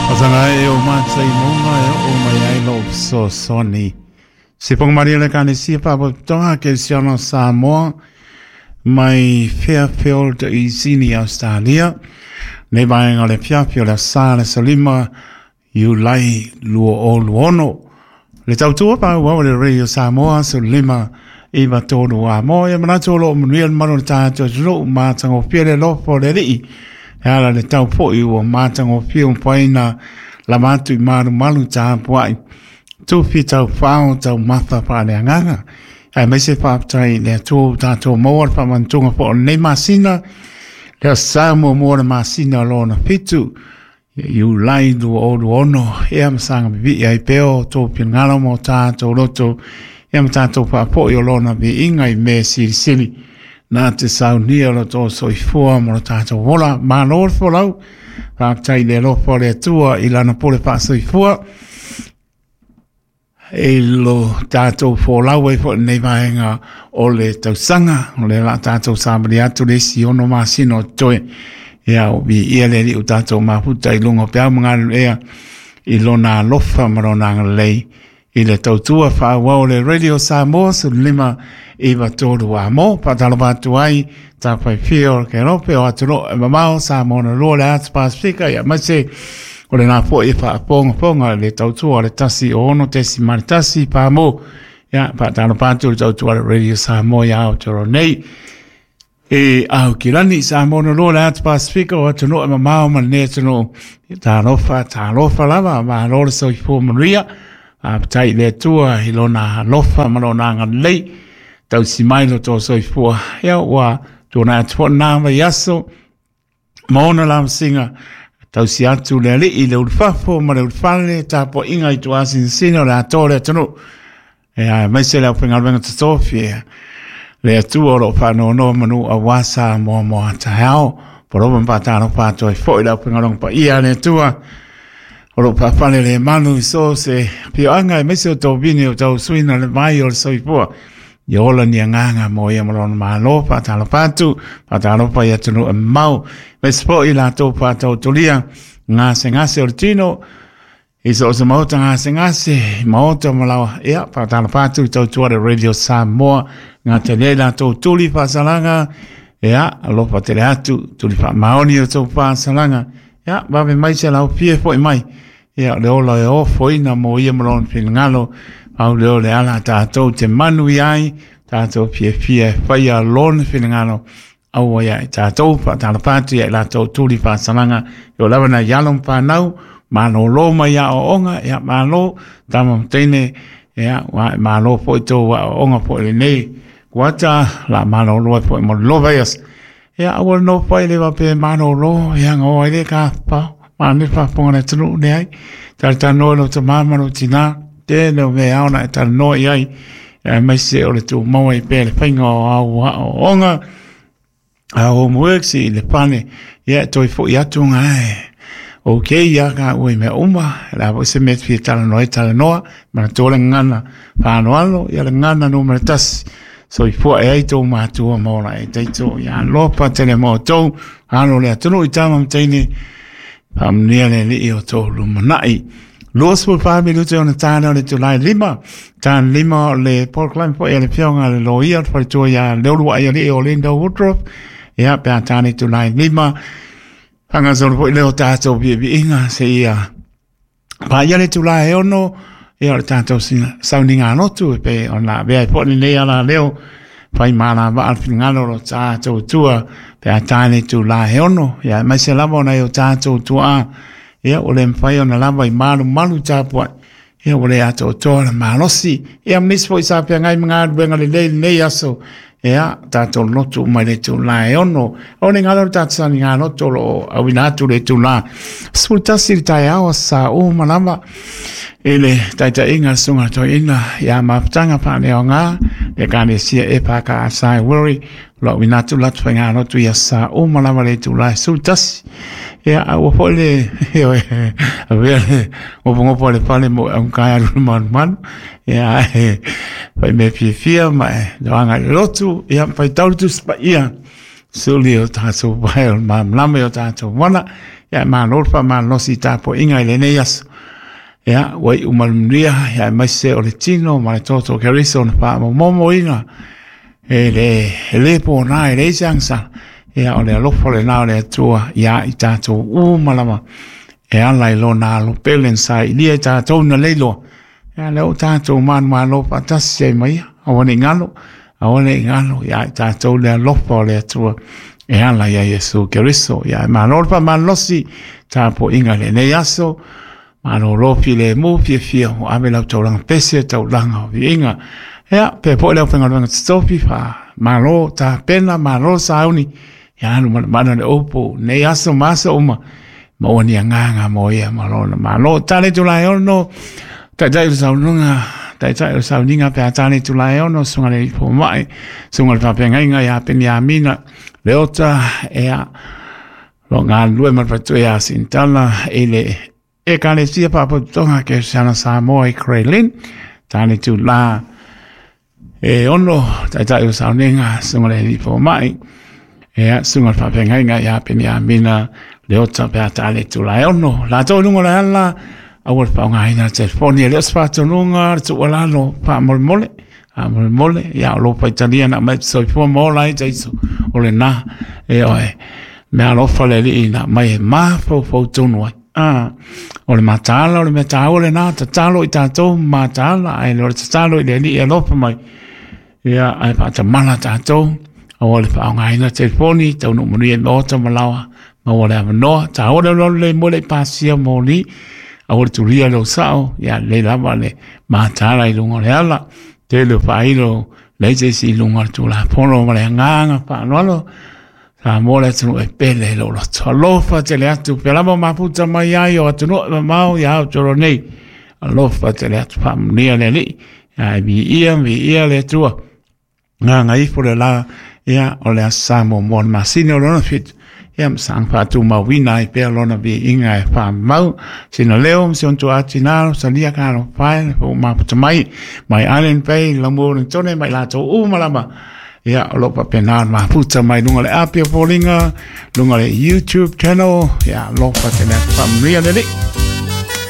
Pasanga e o mātai maunga e o mai ai lou fesoasoani. Se whakamaria le Ekalesia Faalapotopotoga Kerisiano o Samoa mai Fairfield i Sini, Australia. Nei vaega o le afiafi o le aso Sa le aso 5 Iulai 2026. Le tautua faaauau a le Radio Samoa 15 9 3 a mo e manatu o loo manuia le malu o le tatou atunuu matagofie le alofa o le Alii e ala le tau foi ua matagofie ua mafai ona lava atu i malumalu tapuai tufi taufao taumafa faaleagaga aemaise faafetai i le Atua ua tatou maua le faamanatuga foi o lenei masina le aso Sa muamua o le masina lona 7 Iulai 2026, ia ma saga pipii ai pea o outou finagalo ma o tatou loto, ia ma tatou faafoi o lona viiga i mea silisili na te saunia lo outou soifua ma lo tatou ola. Malo le folau, faafetai i le alofa o le Atua i lana pule faasoifua i lo tatou folau ai foi i lenei vaega o le tausaga. O lea o le a tatou savali atu le isi 6 masina o totoe. Ia, o viia le Alii ua tatou mafuta i luga o peau ma galulue i lona alofa ma lona agalelei i le tautua faaauau o le Radio Samoa 15 9 3 a mo. Faatalofa atu ai tafaifia o le Kelope o atunuu e mamao Samoa na lua le atu Pasifika ia aemaise o lena foi e faafogafoga le tautua o le 106.1 pamo. Ia faatalofa atu le tautua le Radio Samoa ia Aotearoa nei. E Aukilani, Samoa na lua le atu Pasifika o atunuu e mamao ma lenei atunuu. Talofa, talofa lava, malo le soifua manuia. Faafetai i le Atua i lona alofa ma lona agalelei. Tausi mai lo tō soifua. Ia ua tuanai atu foi lena vaiaso ma ona lavasiga. Tausi atu le Alii i le ulufafo ma le ulufale, tapuaiga i tuasinasina o le atoa o le atunuu. Ia, aemaise le aufaigaluega totofi, ia, le Atua o lo o faanoanoa manu aua Samoa mo a taeao. Polopa ma faatalofa atu ai foi le aufaigaluega paia a le Atua o lo o faafale le manu i so se afioaga, aemaise o tovini o tausuina le vai o le soifua. Ia ola ni agaga mo ia ma lona malo, faatalofa atu, faatalofa i atunuu e mamao, aemaise foi i latou faatautolia gasegase o le tino, i so o se maota gasegase, maota ma lawa, ia, faatalofa atu i tautua le Radio Samoa, ngā tele ai latou tuli faasalaga, ia, alofa tele atu, tuli faamaoni o tou faasalaga, ia, vave mai se lau fie foi mai, ia, o le ola e ofoina mo ia ma lona finagalo, pau lea o le ala tatou te manu i ai, tatou fiafia e faia lona finagalo, aua ia i tatou, faatalofa atu ia i latou tuli faasalaga, i o lava nai alo ma fanau, malolo mai aoaoga, ia malo, tama ma teine, ia, ua e malo foi tou aoaoga foi lenei, kuata, la malolo ai foi mo le lova ias. Ia, aua le nofo ai le faapea e malolo, ia nga o ai le ka pao, mane faafofoga le atunuu, leai. Talatalanoa i lou tama ma lou tina, tele o mea e ao ona e talanoa i ai, aemaise o le tumau ai pea le faiga o au aoaoga, a homeworks i le fale, ia e toe foi atu ngā e. Ok, ia ka ua i mea uma, le a foi se mea te fia talanoa ai, talanoa, manatua le gagana faaaloalo, ia le gagana numera 1, soifua e ai tou matua ma ola e taito, ia alofa tele mo outou, alo le atunuu i tama ma teine, faamanuia le Alii o tou lumanai. 24 minute ona tāne o le itulai 5, tāne 5 o le polokalame foi a le afioga a le loia o le faletua ia Leuluai Alii o Linda Woodruff, ia pe a tāne itulai 5, faagasolo foi lea o tatou viiviiga seia paia le itula e 6, ia o le tatou sauniga lotu e pei ona avea ai foi lenei ala leo fai malavaa le finagalo o lo tatou Atua pe a tae le itula e 6, ia aemaise lava ona e o tatou tuaa, ia ua le mafai ona lava i malumalu tapuai, ia ua le atoatoa le malosi, ia ma nisi foi sa feagai ma galuega lelei lenei aso, ia tatou lotu uma i le itula e 6. O le galo o le tatou sauniga lotu o lo o auina atu le itula 11 i le taeao aso Sa uma lava i le taitaiga a le Susuga Toeaina ia Mafutaga Faaleaoga le Ekalesia EFKS i Wiri, o lo o auina atu le latou faigalotu i aso Sa uma lava le itula e 11. Ia, a ua foi le, ioe, avea le ngopongopo a le fale mo e augata alu i le malumalu, ia, e fai mea fiafia ma e loaga i le lotu, ia, faitau le Tusi Paia, suli o tatou pae o le malamalama i o tatou wana. Ia malo le faamalosi i tapuaiga i lenei aso. Ia, ua iu manuia, ia aemaise o le tino ma le toto o Keriso na faamomomoina e le pona, e leai se agasala. Ia, o le alofa lena o le Atua ia i tatou uma lava e ala i lona alo pele na sailia i tatou na leiloa. Ia, lea ua tatou manumalo faatasi ai ma ia, aua ne i galo, aua ne i galo ia i tatou le alofa o le Atua e ala ia Iesu Keriso. Ia, malo le faamalosi tapuaiga i lenei aso. Malolo filemu fiafia ua ave lau taulaga pese taulaga o viiga. Ia, pea foi le aufaigaluega totofi, faamalo tapena, malo sauni. Ia, alu manamana le upu nei aso ma aso uma, maua ni agaga mo ia ma lona malo. Tale itula e 6, taitai o le saunoaga, taitai o le sauniga pe a tale itula e 6, susuga i le fomai, susuga i le faafeagaiga ia Peniamina Leota, ia, lo galulue ma le faletua ia Sintala i le Ekalesia Faapotopotoga Kerisiano Samoa i Grey Lynn. Tane tula e 6, taitai o sauniga, susuga i le alii fomai, ia, susuga i le faafeagaiga ia Peniamina Leota pe a tale tula e 6. Latou i luga o le ala, aua le faaaogaina le telefoni, e le o se faatonuga, le tuualalo, faamolemole, faamolemole, ia o lou faitalia na aumai soifua ma ola ai taiso, o lena, e oe, mea alofa le alii na aumai e mafaufau tonu ai. O le mataala, o le mea taua lena, tatalo i tatou mataala, ae le o le tatalo i le alii e alofa mai, ia, ae faatamala tatou, aua le faaaogaina telefoni, taunuu manuia i maota ma laoa, maua le avanoa, taua le alualu le moe le i pasia moli, aua le tulia lou sao, ia lelei lava le mataala i luga o le ala, tele o faailo leai se isi i luga o le Tulafono ma le agaga faaaloalo, Samoa le atunuu e pele i lou loto. Alofa tele atu, pea lava o mafuta mai ai o atunuu e mamao ia Aotearoa nei. Alofa tele atu, faamanuia le Alii. Ia e viia, viia le Atua. Gagaifo le la, ia o le Aso Sa muamua o le masina o lona 7. Ia ma saga faatumauina ai pea lona viiga e faamau. Sina leo ma si ona tuaa tina, salia ka alofa e, le fou mafuta mai, mai Island Bay, Lamu Wellingtone, mai latou uma lava. Ia, o lo o faapena ona mafuta mai luga o le api o foliga, luga o le YouTube channel. Ia, alofa tele atu, faamanuia le Alii.